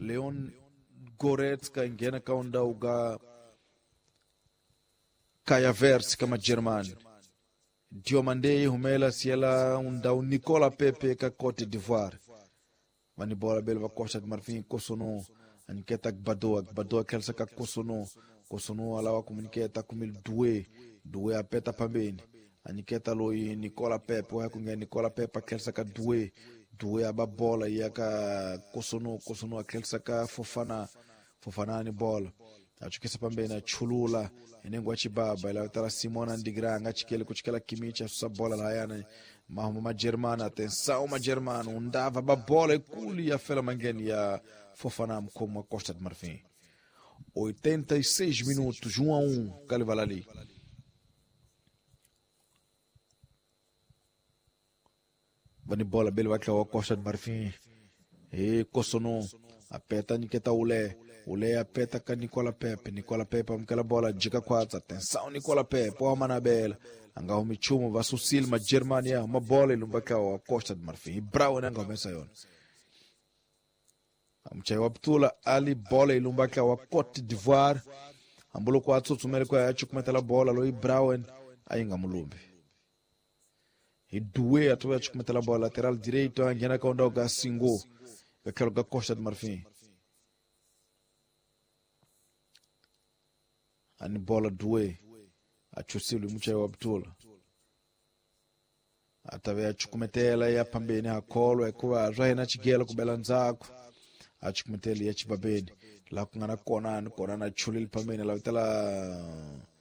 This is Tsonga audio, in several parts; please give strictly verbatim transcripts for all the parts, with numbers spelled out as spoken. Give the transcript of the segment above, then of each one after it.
Leon Goretzka nghena ka undhawu ka Kai Havertz ka Majerumani. Diomande humela siela undhawu Nicola Pepe ka Cote d'Ivoire. Vani bola bele va Costa de Marfim Kossounou aniketa Gbadoa, Gbadoa khelsa ka Kossounou, Kossounou alawa kumuniketa kumil Doué, Doué apeta pambeni aniketa loyi Nicola Pepe, wa kunga Nicola Pepe akhelsa ka Doué, Doué aba bola ya ka Kossounou, Kossounou akhelsa ka Fofana, Fofana ni bola achukisa pambeni achulula enengo achibaba ila tala Simona Ndigra angachikele kuchikela Kimmich asusa bola layana mahuma majerumani. Atenção majerumani undava babola ikulu ya fela mangeni ya Fofana mkomo wa Costa de Marfim. oitenta e seis minutos, um a um, Kalivalali. Vani bola bele wakla wa Costa de Marfim. E Kossounou apeta Niketa Ule, Ule apeta ka Nicola Pepe, Nicola Pepe amkela bola jika kwatsa. Atenção Nicola Pepe, wa manabela anga umichumo vasusil ma Germania ma bola ilumbaka wa Costa de Marfim. Brown anga umesa yona. Amchai wa Ptula Ali bola ilumbaka wa Cote d'Ivoire. Ambulo kwa tsutsumele kwa yachu kumetela bola loi Brown ainga mulumbi. Idue atuwe yachu kumetela bola lateral direito angena kaunda ga Singo. Kakelo ga Costa de Marfim. Ani bola Due achusilu mchai wa Ptula. Atave achukumetela ya pambeni hakolo ekuwa rahena chigela kubela nzako. Achukumetela ya chibabeni la kungana kona kona na chulil pambeni la vitala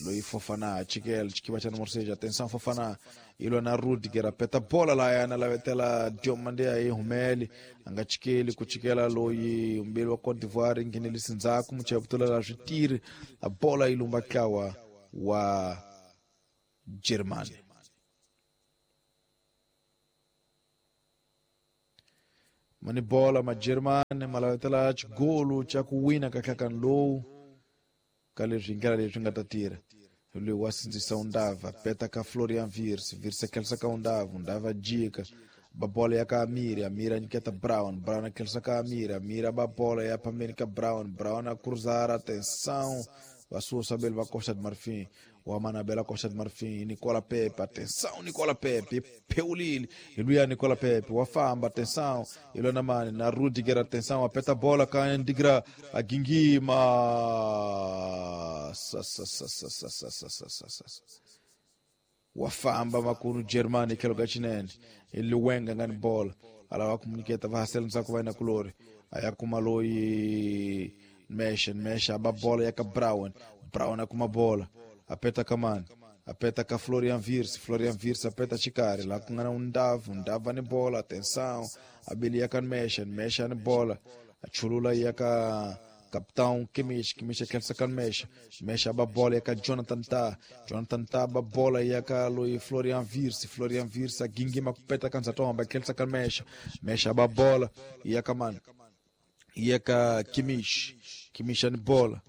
loi Fofana achikela chikiba cha numero seis. Atenção Fofana ilo na Rudiger apeta bola la yana la vitala Diomande aí humeli angachikeli kuchikela loi umbeli wa Cote d'Ivoire nginelisi nzako mchai Ptula la jutiri a bola ilumba kawa wa Germany. Mani bola ma Germany malawetela chigolu cha kuwina kaklakan low kale zvingala leswi nga ta tirha loyi wa sindzisa undava peta ka Florian Wirtz, Wirtz akhelsa ka undava, undava jika ba bola ya ka Amiri, Amiri aniketa Brown, Brown akhelsa ka Amiri, Amiri ba bola ya pambeni ka Brown, Brown a cruzar, atenção vasusa bele va Costa de Marfim, wa manabela Costa de Marfim, Nicola Pepe, atenção Nicola Pepe, Peulili, iluya Nicola Pepe, wafamba, atenção, ilona mani, na Rudiger, atenção, apeta bola, ka Ndigra, a Gingima, sa sa sa sa sa sa sa sa sa sa wafamba makuru Germany kelo gachinene, iluwenga ngani bola, alawa komuniketa vahasela msako vaina kulori, ayakumaloi Mesha, Mesha aba bola yaka Brown, Brown akuma bola, apeta kamani, apeta ka Florian Wirtz, Florian Wirtz apeta chikari, la kungana undavu, undava ni bola, atenção, abili yaka Mesha, Mesha ni bola, achulula yaka capitão Kimmich, Kimmich akelsa kan Mesha, Mesha aba bola yaka Jonathan Tah, Jonathan Tah aba bola yaka loi Florian Wirtz, Florian Wirtz agingima kupeta kansa tomba, akelsa kan Mesha, Mesha aba bola yaka man, yaka Kimmich, Kimmich ni bola,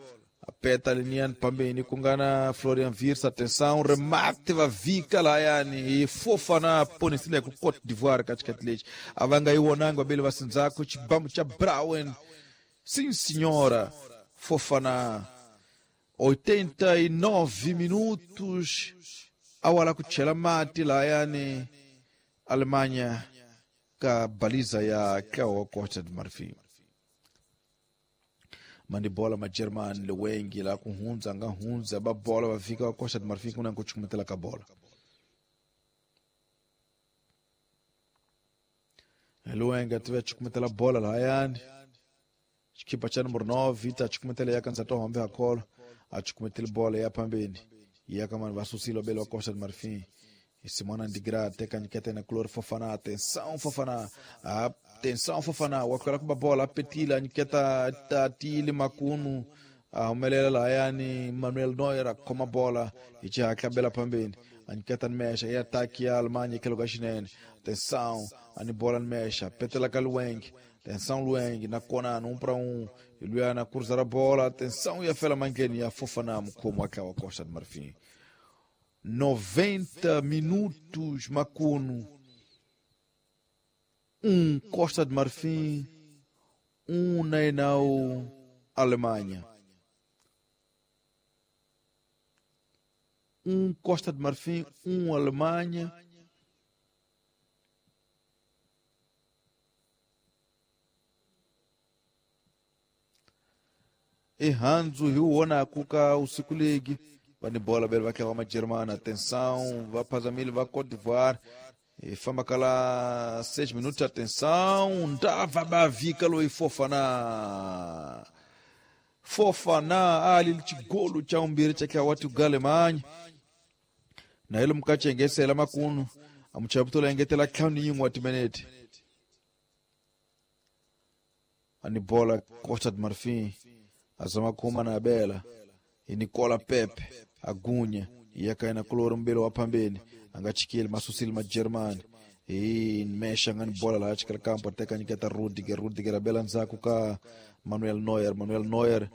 apeta linian pambeni kungana Florian Wirtz, atenção, remate va vika la yani Fofana ponisile ku Cote d'Ivoire katikati lechi avanga iwonangwa bele vasinzako chibambo cha Brown. Sim senhora, Fofana, oitenta e nove minutos awala kuchela mati la yani Alemanha ka baliza ya kwa Costa de Marfim. Mandi bola ma German lewengi la kuhunza nga hunza ba bola ba fika wa Costa de Marfim kuna kuchukumetela ka bola. Luenga tuwe chukumetela bola la yani chikipa cha numero nove ita chukumetela ya kanza to hambe akolo achukumetela bola ya pambeni ya kama vasusilo bele wa Costa de Marfim. Simona Ndigra teka nikete na Klor Fofana, atenção Fofana, atenção Fofana, wakala kuba bola petila niketa tatili makunu ahumelela la yani Manuel Neuer akoma bola ichi akabela pambeni aniketa nmesha ya ataki ya Alemanha kelo gashinene, atenção ani bola nmesha petela kalueng, atenção Lueng na kona um para um iluana cruzar a bola, atenção e a fela mangeni ya Fofana mkomo akawa Costa de Marfim. noventa minutos Macuno, um Costa de Marfim, Um na inau Alemanha. Um Costa de Marfim, um Alemanha. E Hanzo Hiuona kuka usiku ligi. Vani bola bele vakewa majerumani. Atenção, va Pazamili, va Côte d'Ivoire. E famba kala seis minutos, atenção. Ndava bavika loi Fofana. Fofana ali chigolo cha umbiri cha watu Galemanha. Na ilo mkachengesela makunu. Amuchaputula engetela ntlhanu yin'we wa timinete. Ani bola Costa de Marfim. Azama kuma na bela. E Nicola Pepe. Agunya. Yakaina kuloro mbele wa pambeni. Angachikile masusile majerumani. E mesha ngani bola la chikala kampo ateka nyiketa Rudiger. Rudiger abela nzaku ka Manuel Neuer. Manuel Neuer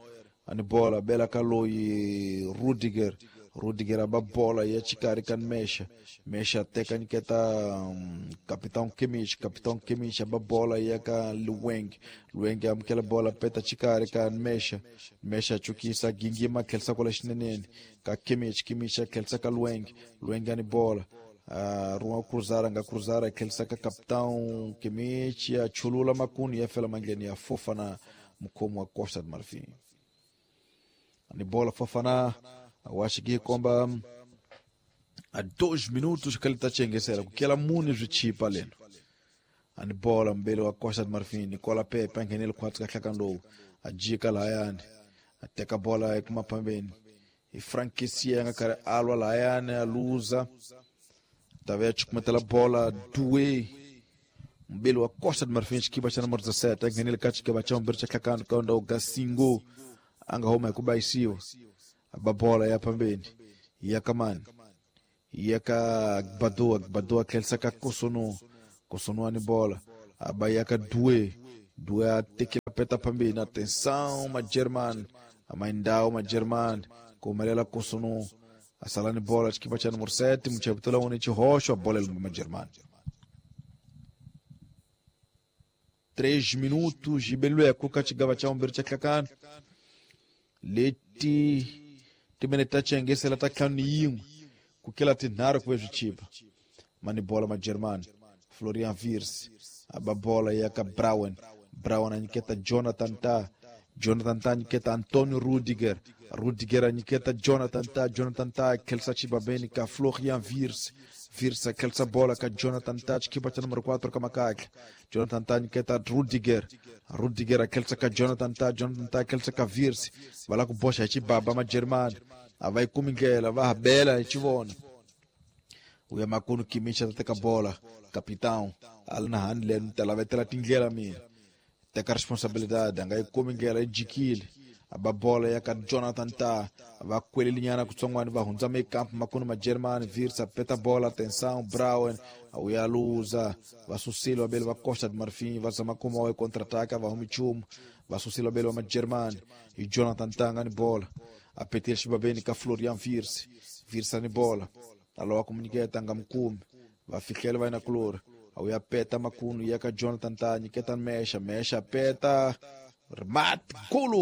ani bola bela kaloi Rudiger. Rudiger aba bola ya chikari kan mesha. Mesha ateka nyiketa um, Capitão Kimmich. Capitão Kimmich aba bola ya ka Luweng. Luweng amkela bola peta chikari kan mesha. Mesha chukisa gingima kelsa kola shinenene. Ka Kimmich. Kimmich kelsa ka Luweng. Luweng ani bola. Uh, Ruan cruzara nga cruzara kelsa ka Capitão Kimmich ya chulula makuni ya fela mangleni ya Fofana mkomo wa Costa de Marfim. Ani bola Fofana washiki komba a dois minutos que ele tá chengesera kukela muni zwichipa leno. Ani bola mbele wa Costa de Marfim Nicola Pepe angenele khwatsi ka hlakando ajika layani ateka bola ekuma pambeni e Frank Kessie nga kare alwa layani aluza tave chukumetela bola Doué mbele wa Costa de Marfim chikipa cha número dezassete angenele ka chikipa cha mbele cha hlakando kaunda Gasingo anga homa kubaisiwa babola ya pambeni yakamani yaka Badoa Badoa kelsa ka Kosono Kosono ani bola abayaka Doué Doué atekela peta pambeni atenção ma German amaindao ma German kumalela Kosono asalani bola chikipa cha número sete mcheputela one chihosho a bola ma German. Três minutos ibelwe kuka chigava cha umbiri cha klakana leti timene tachengesela ta ntlhanu yin'we kukela tinharhu ku ve swichipa mani bola ma German Florian Wirtz aba bola ya ka Brown Brown a nyiketa Jonathan Ta Jonathan Ta nyiketa Antonio Rudiger Rudiger a nyiketa Jonathan Ta Jonathan Ta khelsa chibabeni ka Florian Wirtz Wirtz khelsa bola ka Jonathan Ta chikipa cha número quatro ka makakla Jonathan Ta nyiketa Rudiger Rudiger khelsa ka Jonathan Ta Jonathan Ta khelsa ka Wirtz va la ku boxa hi chibaba ma German a va yi kumi ndlela va habela hi chivona uya makunu Kimmich ta teka bola capitão ali na handle ta lavetela tindlela mina teka responsabilidade a nga yi kumi ndlela yi jikile aba bola ya ka Jonathan Ta va kwelelinyana kutsongwani va hundza mekampu makunu ma German Wirtz apeta bola atenção Brown uya luza va susile vabeli va Costa de Marfim va zama kuma wa contra-ataque va humi chumu va susile vabeli va ma German hi Jonathan Ta nga ni bola apetile xibabeni ka Florian Wirtz Wirtz ani bola alowa kumunyiketa nga mukumi va fihlela va yina kulori uya peta makunu ya ka Jonathan Ta nyiketa Mesha Mesha peta remate golo.